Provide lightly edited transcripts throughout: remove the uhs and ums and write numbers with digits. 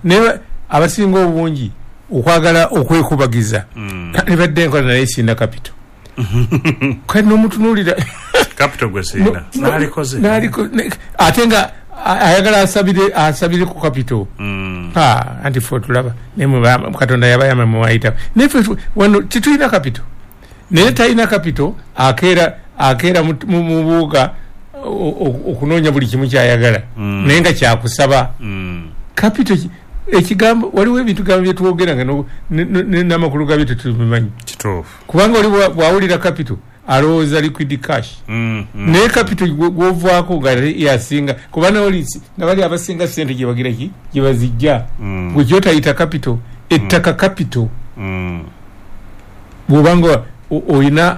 Naye abasinga obungi okwagala okwekubagiza nebadde enkola, naye sirina capital. Kati nomutunuulira. Capital gwe sirina, nalikoze. Ate nga ayagala asabire ku capital. Anti fe otulaba, naye Katonda yabayama muwayita, naye ffe wano tetulina capital. Naye talina capital, akeera mu buuga okunoonya buli kimu kyayagala, naye nga kyakusaba. Capital ekigambo, waliwo ebintu gambo byetwogera nga n'amakulu gabyo tetubimanyi. Kubanga oli bwawulira capital alowooza liquid cash, naye capital gwovaako nga yasinga, kuba naoli nga bali abasinga sente gyebagira ki gyebazijja, gwe gyotayita capital. Ettaka capital, bwobanga oyina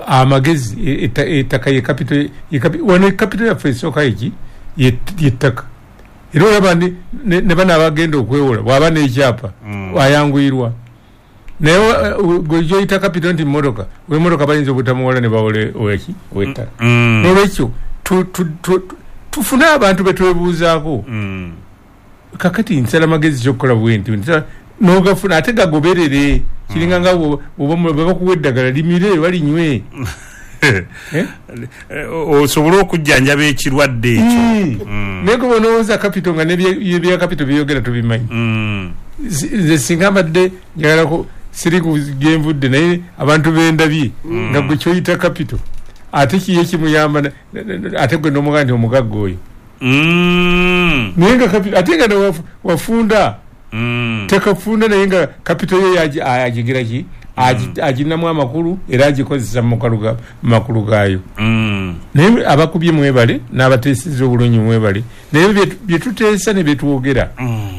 amagezi, ettaka ye capital. Wano capital yaffe esooka eki yettaka. Era olaba ne bano abagenda okwewola, bwaba n'ekyapa ayanguyirwa. Naye gwe gyoyita capital nti mmotoka, wemotoka bayinza obutamuwola ne bawola oweki owettaka. Nolwekyo tufune abantu betwebuuzaako. Kakati nsala magezi kyokukola bwe nti nogafuna, ate gagoberere. Kiringa nga bwe bakuwa eddagala, limire balinywe. Osobole okujjanjaba ekirwadde ekyo. Naye kuba onowooza capital nga nebya capital byeyogera tubimanyi. Nze singa mbadde njagalako siri gyenvudde, naye abantu bendabye nga gwe kyoyita capital ate kiye kimuyamba, ate gwe nomugaa nti omugagga oyo, naye nga capital ate nga wafunda tekafunda, naye nga capital ye agigira ki, aginamu amakulu era agikozesa mu makulu gaayo. Naye abakubye mwebale, n'abateeseza obulungi mwebale, naye byetuteesa ne byetwogera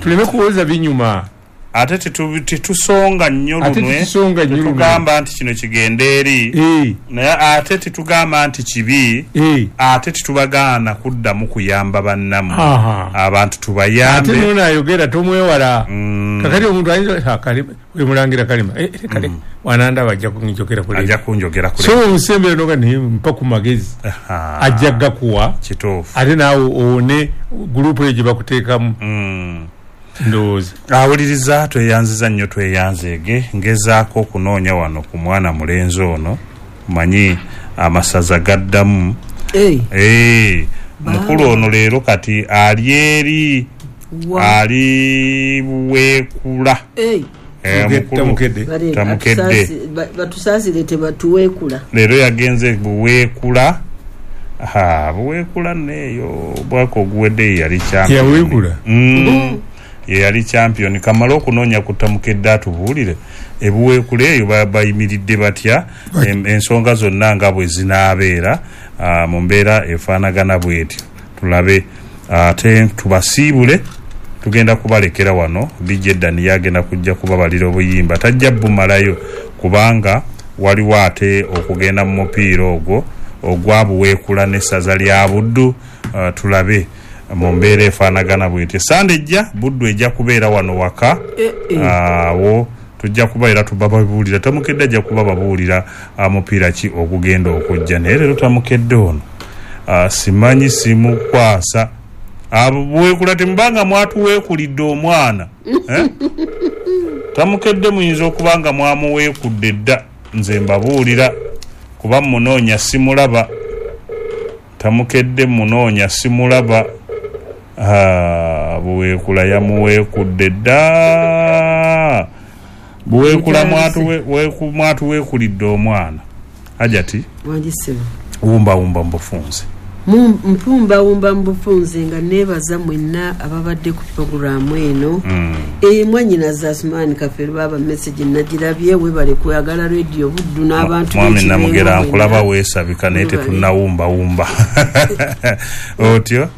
tuleme kuwoza binyuma. Ate tetusonga nnyo lunwe, tetugamba nti kino kigende eri, naye ate tetugamba nti kibi, ate tetubagaana kuddamu kuyamba bannammwe. Abantu tubayambe. Ate nono ayogera tomwewala. Kakati omuntu ayinza wemulangira kalima kale wanandaba ajja kunjogera kule, ajja kunjogera kule. So omusembere noga naye mpa ku magezi, ajja gakuwa. Kituufu. Ate naawe owone gurupu eyo gye bakuteekamu. Ndowooza awuliriza. Tweyanziza nnyo, tweyanzeege. Ngezaako okunoonya wano ku mwana mulenzi ono, manyi amasaza gaddamu. Mukulu ono leero kati ali eri, ali Buweekula. Tamukedde. Batusaasire, tebatuweekula. Leero yagenze Buweekula. Buweekula neeyo bwaka oguwedde yali champion. Yaweekula. Ye yali champion. Kamala okunoonya ku Tamukedde atubuulire ebuweekula eyo bayimiridde batya, ensonga zonna nga bwe zinaabeera mu mbeera efaanagana bwetyo. Tulabe ate tubasiibule. Tugenda kubalekera wano. DJ Dani yagenda kujja kubabalira obuyimba, tajja bumalayo kubanga waliwo ate okugenda mu mupiira ogwo ogwa Buweekula n'essaza lya Buddu. Tulabe mu mbeera efaanagana bwetyo. Sande ejja Buddu ejja kubeera wano waka. Awo tujja kuba era tubababuulira. Tamukedde ajja kuba babuulira mupiira ki ogugenda okujja. Naye leero Tamukedde ono simanyi simukwasa. Buweekula temubanga mwatuweekulidde omwana, eh? Tamukedde muyinza okuba nga mwamuweekudde dda. Nze mbabuulira kuba munoonya simulaba. Tamukedde munoonya simulaba. Buweekula yamuweekudde dda. Buweekula mwatuweekulidde omwana. Ajati wumbawumba mubufunze. Mpumbawumba mubufunze nga neebaza mwenna ababadde ku puroguramu eno. Mwanyinaza Asumani Kafeero, baba message nagirabye, webale kwagala Radio Buddu n'abantu. Mwami Namugera, nkulaba weesabika, naye tetunnawumbawumba otyo.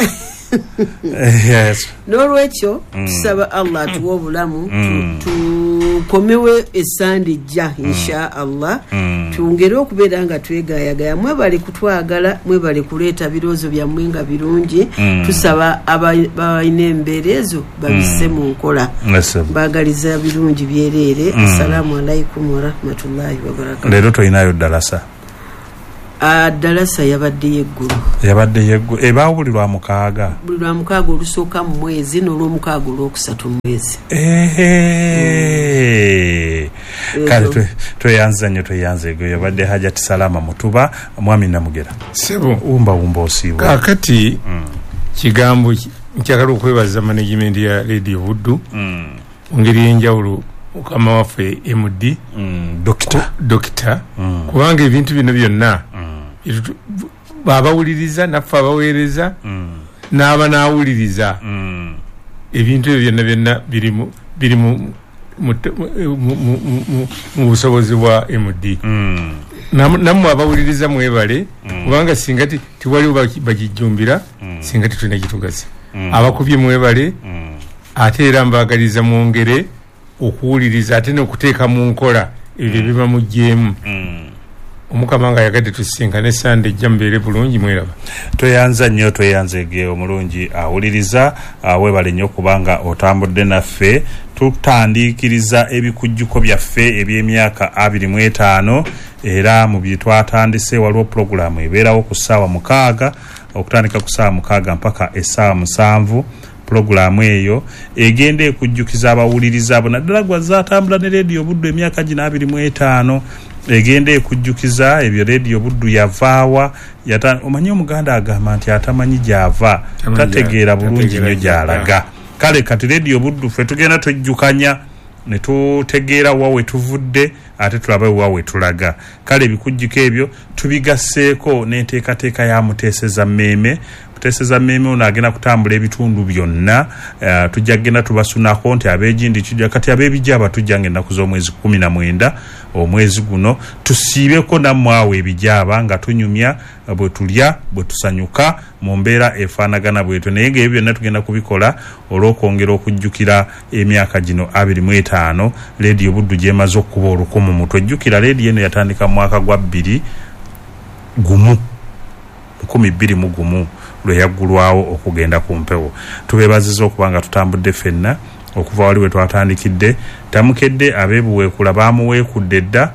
Yes. N'olwekyo tusaba Allah atuwe obulamu, tukomewe esande ejja insha Allah, twongere okubeera nga twegayagaya. Mwebale kutwagala, mwebale kuleeta birowoozo byammwe nga birungi. Tusaba abalina embeera ezo babisse mu nkola. Baagaliza birungi byereere. Assalamu alaikum warahmatullahi wabarakatu. Leero tolinayo ddalasa? Dalasa yabadde yeggulo. Yabadde yeggulo. Ebaawo buli lwa mukaaga. Buli lwa mukaaga olusooka mu mwezi n'olwomukaaga olwokusatu mu mwezi. Kale tweyanza nnyo, tweyanza ego. Yabadde Hajati Salama Mutuba, Mwami Namugera. Sebo. Wumba osiibwa. Kaakati kigambo nkyagala okwebaza management ya Radio Buddu mu ngeri y'enjawulo, mukama waffe MD Dokita, kubanga ebintu bino byonna babawuliriza, naffe abaweereza n'aba n'awuliriza. Ebintu ebyo byonna byonna biri mu busobozi bwa MD. Nammwe abawuliriza mwebale, kubanga singa tiwaliwo bagijjumbira, singa tetulina kitugasa. Abakubye mwebale, ate era mbaagaliza mwongere okuwuliriza ate n'okuteeka mu nkola ebyo biba muggyemu. Omukama nga yagadde tusisinkane Sande ejja, mubeere bulungi, mweraba. Tweyanza nnyo, tweyanza ege omulungi awuliriza, weebale nnyo kubanga otambudde naffe. Tutandiikiriza ebikujjuko byaffe eby'emyaka 25, era mu bye twatandise waliwo pulogulaamu ebeerawo ku ssaawa 6, okutandika ku ssaawa 6 mpaka essaawa 7. Pulogulaamu eyo egenda ekujjukiza abawuliriza abo, naddala gwazze atambula ne Rediyo Buddu emyaka gino 25, egenda ekujjukiza ebyo Rediyo Buddu yavaawa. Omanyi Omuganda agamba nti atamanyi gy'ava tategeera bulungi nnyo gy'alaga. Kale kati Rediyo Buddu ffe tugenda twejjukanya ne tutegeera wa we tuvudde, ate tulabe wa we tulaga. Kale ebikujjuko ebyo tubigasseeko n'enteekateeka ya Muteeseza Mmeeme. Muteeseza Mmeeme ono agenda kutambula ebitundu byonna. Tujja kugenda tubasunako nti ab'egindi kijja, kati ab'ebijaaba tujja ng'ennaku z'omwezi 19 omwezi guno, tusiibeko nammwe awo ebijaaba nga tunyumya bwe tulya bwe tusanyuka mu mbeera efaanagana bwetyo. Naye ng'ebyo byonna tugenda kubikola olw'okwongera okujjukira emyaka gino 25 Rediyo Buddu gy'emaze okuba olukumu mu twejjukira. Rediyo eno yatandika mu mwaka gwa 2001 lwe yaggulwawo okugenda ku mpewo. Tubeebaziza okuba nga tutambudde ffenna okuva wali we twatandikidde. Tamukedde ab'ebuweekula baamuweekudde dda,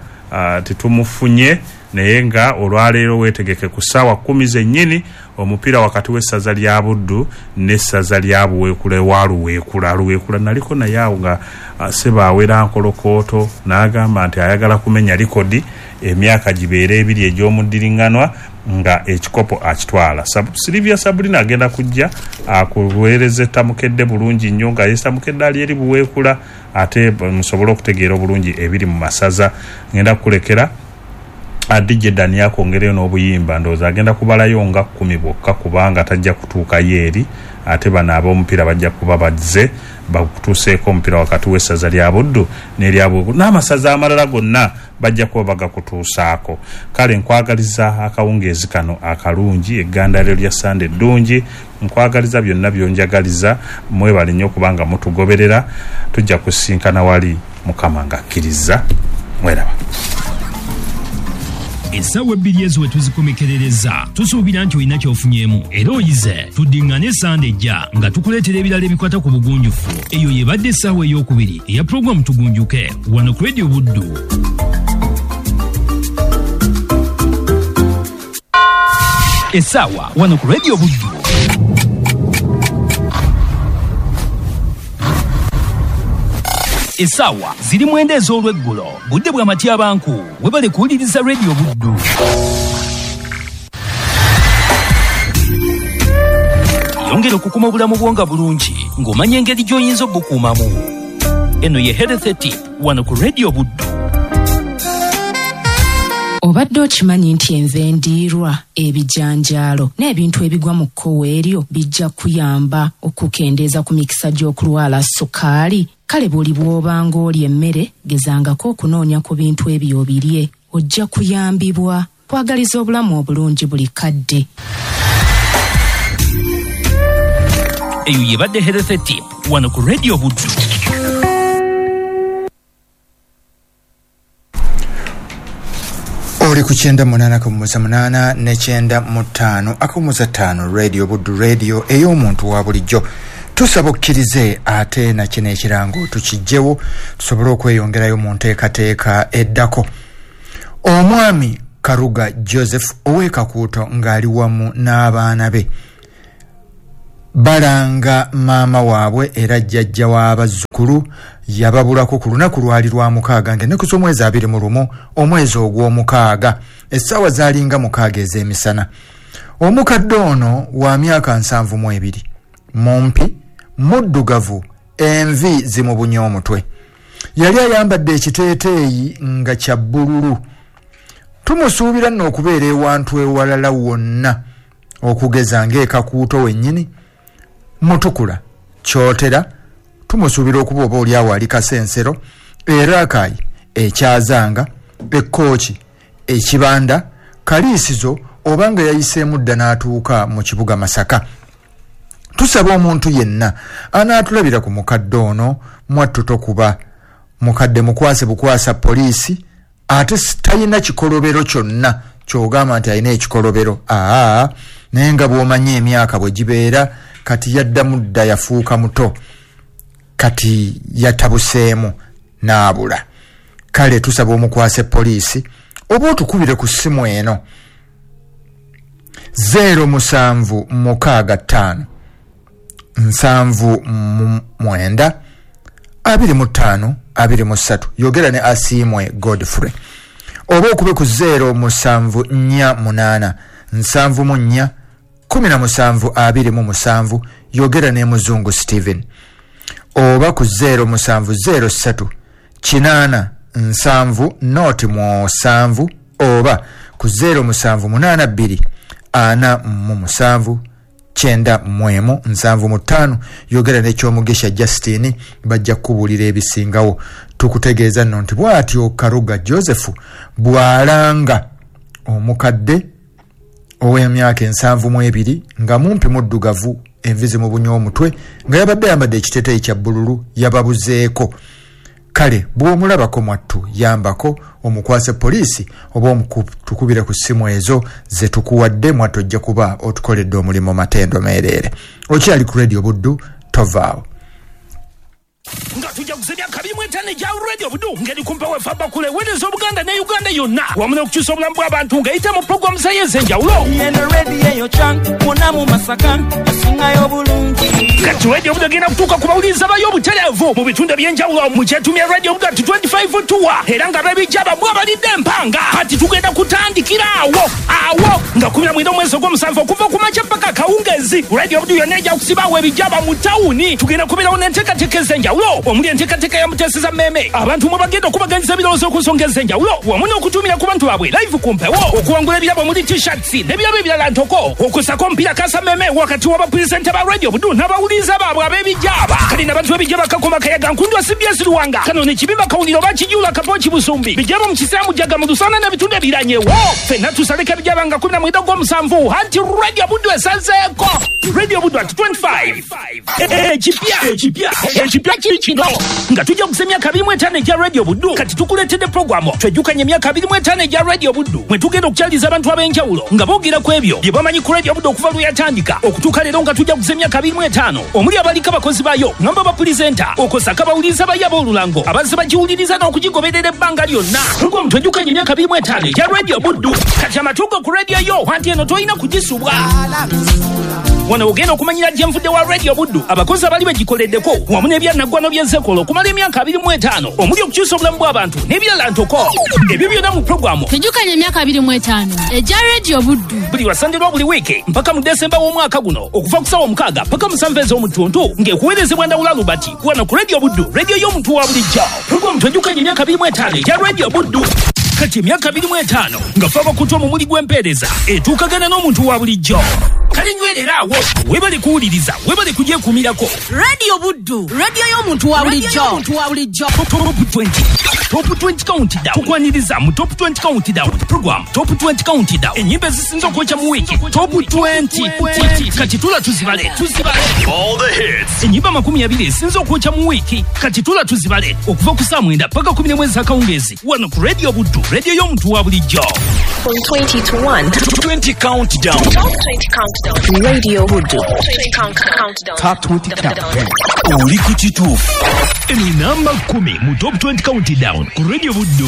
tetumufunye, naye nga olwaleero weetegeke ku ssaawa 10 zennyini omupiira wakati w'essaza lya Buddu n'essaza lya Buweekula ewa Luweekula. Luweekula naliko naye awo nga Ssebaawera nkolokooto n'agamba nti ayagala kumenya likodi emyaka gibeere 2 egy'omuddiriŋŋanwa nga ekikopo akitwala. Silivia Sabrina agenda kujja akuweereza Tamukedde bulungi nnyo, nga ye Tamukedde ali eri Buweekula, ate musobole okutegeera obulungi ebiri mu masaza. Ngenda kukulekera DJ Dani akwongereyo n'obuyimba, ndowooza agenda kubalayo nga 10 bwokka kubanga tajja kutuukayo eri, ate bano ab'omupiira bajja kuba bazze bakutuuseeko omupiira wakati w'essaza lya Buddu n'erya Buweekula n'amasaza amalala gonna bajja kuba bagakutuusaako. Kale nkwagaliza akawungeezi kano akalungi, eggandaliro lya Sande eddungi, nkwagaliza byonna byonjagaliza. Mwebale nnyo kubanga mutugoberera. Tujja kusinkana wali Mukama ng'akkiriza. Mweraba. Essaawa 2 ezo we tuzikomekerereza, tusuubira nti olina ky'ofunyeemu era oyize. Tuddiŋŋane Essande ejja nga tukuleetera ebirala ebikwata ku bugunjufu. Eyo yebadde essaawa ey'okubiri eya pulogulaamu Tugunjuke wano ku Radio Buddu. Essaawa wano ku Radio Buddu. Essaawa ziri 9 ez'olweggulo, budde bwa matyabanku. Webale kuwuliriza Radio Buddu. Yongera okukuma obulamu bwo nga bulungi ng'omanya engeri gy'oyinza obukuumamu. Eno ye Health Tip wano ku Radio Buddu. Obadde okimanyi nti enva endiirwa, ebijanjaalo n'ebintu ebigwa mu kkowe eryo bijja kuyamba okukendeeza ku mikisa gy'okulwala sukaali? Kale buli bw'obanga olya emmere, gezangako okunoonya ku bintu ebyo obirye, ojja kuyambibwa. Kwagaliza obulamu obulungi buli kadde. Eyo yebadde Health Tip wano ku Radio Buddu. Oli ku 98.8 ne 95.5 Radio Buddu, radio ey'omuntu wa bulijjo. Tusaba okkirize ate na kino ekirango tukijjewo tusobole okweyongerayo mu nteekateeka eddako. Omwami Karuga Joseph ow'Ekakuuto ng'ali wamu n'abaana be balanga maama waabwe era jjajja w'abazzukulu yababulako ku lunaku lwali lwa mukaaga ng'ennaku z'omwezi 21 omwezi ogw'omukaaga, essaawa zaalinga 6 ez'emisana. Omukadde ono wa myaka 72, mumpi, muddugavu, envi zimubunye omutwe. Yali ayambadde ekiteeteeyi nga kya bbululu. Tumusuubira nno okubeera ewantu ewalala wonna, okugeza ng'Ekakuuto wennyini, Mutukula, Kyotera, tumusuubira okuba oba oli awo ali Kasensero, Erakayi, Ekyazanga, Ekkooki, Ekibanda, Kaliisizo, oba nga yayiseemu dda n'atuuka mu kibuga Masaka. Tusaba omuntu yenna anaatulabira ku mukadde ono mwattu tokuba mukadde mukwase bukwasa poliisi, ate talina kikolobero kyonna ky'ogamba nti alina ekikolobero, naye nga bw'omanyi emyaka bwe gibeera, kati yaddamu dda yafuuka muto, kati yatabuseemu n'abula. Kale tusaba omukwase poliisi oba otukubire ku ssimu eno 0765 79 25 23. Yogera ne Asiimwe Godfrey oba okube ku 0748 74 17 27. Yogera ne Muzungu Steven oba ku 0703 8 7 07 oba ku 0782 47 91 75. Yogera n'Ekyomugisha Justine, bajja kukubuulira ebisingawo. Tukutegeeza nno nti bw'atyo Karuga Joseph bw'alanga omukadde ow'emyaka 72 nga mumpi muddugavu, envi zimubunye omutwe, nga yabadde ayambadde ekiteeteeyi kya bbululu, yababuzeeko. Kale bw'omulabako mwattu yambako omukwase poliisi oba omutukubire ku ssimu ezo ze tukuwadde, mwattu ojja kuba otukoledde omulimu matendo meereere. Okyali ku Radio Buddu, tovaawo. Nga tujja kuza emyaka 25 egya Radio Buddu ngeri kumpa wefa bakule weereza Obuganda ne Uganda yonna wamu n'okukyusa obulamu bw'abantu ng'eyita mu pulogulaamu zayo ez'enjawulo. Kati Radio Buddu egenda kutuuka ku bawuliriza bayo obutereevu mu bitundu eby'enjawulo mu kyetumya Radio Buddu ati 25 tour, era nga bebijja bamwe abalidde empanga. Kati tugenda kutandikira awo awo nga 19 omwezi ogw'omusanvu okuva ku makya paka akawungeezi. Radio Buddu yonna ejja kusibaawo ebijjaba mu tawuni. Tugenda kubeerawo n'enteekateeka ez'enjawulo omuli enteekateeka ya Muteeseza Mmeeme, abantu mwe bagenda okubaganyiza ebirowoozo ku nsonga ez'enjawulo wamu n'okutumira ku bantu baabwe live ku mpewo, okuwangula ebirabo omuli t-shirts n'ebirabo ebirala ntoko, okusako omupiira kasa mmeeme wakati w'abapulezidenti ba Radio Buddu n'abawuliriza baabwe ab'ebijjaba. Kale n'abantu b'ebijjaba Kakoma Kayaga Nkundwa CBS Luwanga kano ne Kibimba Kawuliro Bakijula Kapoki Busumbi bijjaba mu Kisiramu Jjaga mu Lusana n'ebitundu ebiranyewo. Ffenna tusaleko ebijjaba nga 19 ogw'omusanvu anti Radio Buddu esazeeko. Radio Buddu at 25 ekipya ekipya kino nga tujja kuza emyaka 25 egya Radio Buddu. Kati tukuleetedde pulogulaamu twejjukanye emyaka 25 egya Radio Buddu mwe tugenda okukyaliza abantu ab'enjawulo nga boogera ku ebyo bye bamanyi ku Radio Buddu okuva lwe yatandika okutuuka leero nga tujja kuza emyaka 25 omuli abaliko abakozi baayo ngamba bapulizenta okusaka abawuliriza bayo ab'olulango abazze bagiwuliriza n'okugigoberera ebbanga lyonna. Pulogulaamu twejjukanye emyaka 25 egya Radio Buddu. Kati amatuugo ku radio yo anti eno tolina kugisubwa. Wano ogenda okumanyira gye nvudde wa Radio Buddu abakozi abali bagikoleddeko wamu n'ebyanaggwano by'enzekola okumala emyaka 25 omuli okukyusa obulamu bw'abantu n'ebirala ntoko. Ebyo byonna mu pulogulaamu Tujjukanye emyaka 25 egya Radio Buddu buli lwa Sande lwa buli wiiki mpaka mu Desemba w'omwaka guno okuva ku ssaawa 6 paka 7 ez'omutuntu ng'ekuweerezebwa Ndawula Lubati wano ku Radio Buddu, radio y'omuntu wa bulijjo. Pulogulaamu Twejjukanye emyaka 25 egya Radio Buddu. Kati emyaka 25 nga fe abakutu omumuli gw'empeereza etuukagana n'omuntu wa bulijjo. Kale nywerera awo, webale kuwuliriza, webale kugyekuumirako. Radio Buddu, radio y'omuntu wa bulijjo. Top 20 Top 20 Countdown. Tukwaniriza mu Top 20 Countdown program Top 20 Countdown, ennyimba ezisinze okwokya mu wiiki Top 20. Kati tula tuzibale All the hits. Ennyimba 20 ezisinze okwokya mu wiiki kati tula tuzibale okuva ku saa 9 paka 11 ez'akawungeezi wano ku Radio Buddu, radio y'omuntu wa bulijjo. From 20 to 1. 20 Countdown. Top 20 Countdown. Radio Buddu. 20 Countdown. Top 20 Countdown. Oli ku kituufu. Eno namba 10 mu Top 20 Countdown ku Radio Buddu.